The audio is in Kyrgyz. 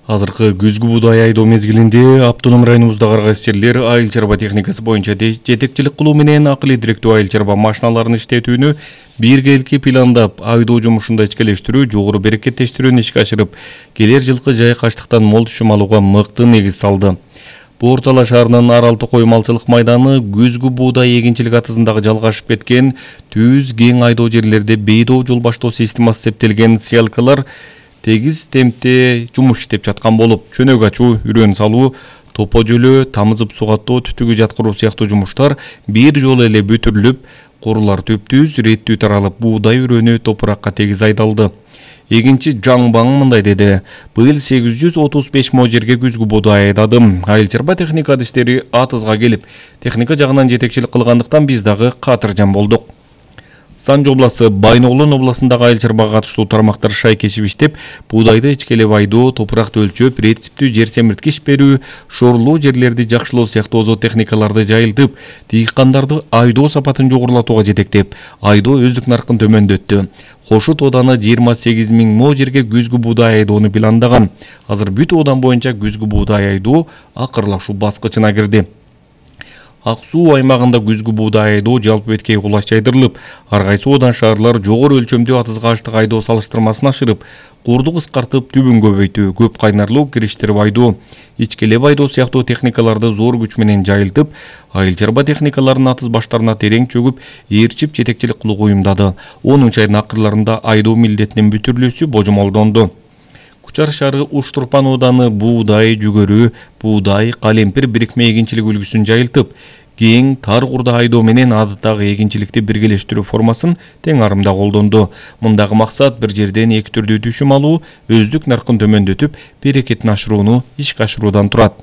Азыркы күзгү буудай айдоо мезгилинде автоном районубуздагы аргасчылар айыл чарба техникасы боюнча жетекчилик кылуу менен акылый директүү айыл чарба машиналарын иштетүүнү биргеликки пландап, айдоо жумушунда ичкелештирүү, жогору берекеттештирүүнү ишке ашырып, келер жылкы жайык аштыктан мол түшүм алууга мыкты негиз салды. Борто Ала шаарынын Аралты коймалчылык майданы күзгү буудай эгинчилик атызындагы жалгашып кеткен түз кең айдоо жерлерде бейдоо жол баштоо системасы септелген сыялкалар тегиз темпте жумуш иштеп жаткан болуп, чөнөк ачуу, үрөн салуу, топо жөлөө, тамызып сугаттоо, түтүгү жаткыруу сыяктуу жумуштар бир жолу эле бүтүрүлүп, курулар төптүз, реттүү таралып, буудай үрөнү топуракка тегиз айдалды. Эгинчи Жаңбаң мындай деди: быйыл 835 мо жерге күзгү буудай айдадым. Айыл чарба техника адистери атызга келип, техника жагынан жетекчилик кылгандыктан биз дагы катыржан болдук. Санжы обласы Байноолон областындагы айыл чарбага катыштуу тармактар шайкешип иштеп, буудайды ичкелеп айдоо, топуракты өлчөп, рецептүү жер семирткич берүү, шорулуу жерлерди жакшылоо сыяктуу озо техникаларды жайылтып, дыйкандарды айдоо сапатын жогорулатууга жетектеп, айдоо өздүк наркын төмөндөттү. Кошут ооданы 28 000 мо жерге күзгү буудай айдоону пландаган. Азыр бүт оодан боюнча күзгү буудай айдоо акырлашуу баскычына кирди. Ак суу аймагында күзгү буудай айдоо жалпы беткей кулач жайдырылып, ар кайсы оодан шаарлар жогору өлчөмдүү атызга аштык айдоо салыштырмасын ашырып, курду кыскартып, түбүн көбөйтүү, көп кайнарлуу кириштирип айдоо, ичкелеп айдоо сыяктуу техникаларды зор күч менен жайылтып, айыл чарба техникаларынын атыз баштарына терең чөгүп, ээрчип жетекчилик кылууга уюмдады. 10 айдын акырларында айдоо милдетинин бүтүрүлүүсү божомолдонду. Кучар шаары Уштурпан ооданы буудай, жүгөрү, буудай, калемпир бирикме эгинчилик үлгүсүн жайылтып, кең, тар курда айдоо менен адаттагы эгинчиликти биргелештирүү формасын тең арымда колдонду. Мындагы максат бир жерден эки түрдүү түшүм алуу, өздүк наркын төмөндөтүп, берекетин ашырууну ишке ашыруудан турат.